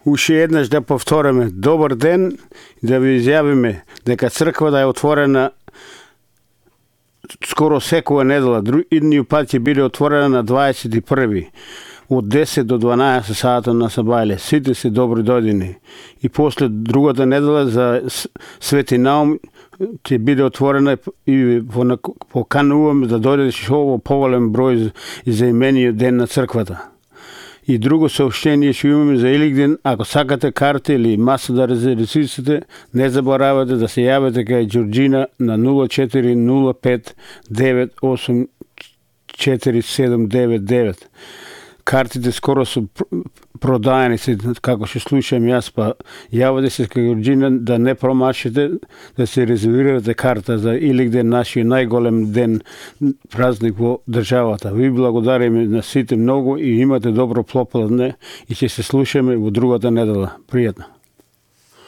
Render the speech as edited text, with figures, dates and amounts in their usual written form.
Уште еднаш да повториме добар ден и да ви изјавиме дека црквата е отворена скоро секоја недела. Идниот пат ќе биде отворена на 21. од 10 до 12 сата на сабајле. Сите се добри дојдени. И после другата недела за Свети Наум ќе биде отворена и покануваме да дојдете што поволен број за имениот ден на црквата. И друго сообщение што имаме за Илигден, ако сакате карти или маса да резервирате, не заборавате да се јавите кај Ѓорџина на 0405 98 4799. Картите скоро се продаени, како што слушам јас, па јавате се кај Ѓорџина да не промашите, да се резервирате карта за Илигден, нашиот најголем ден, празник во државата. Ви благодариме на сите многу и имате добро попладне и ќе се слушаме во другата недела. Пријатно.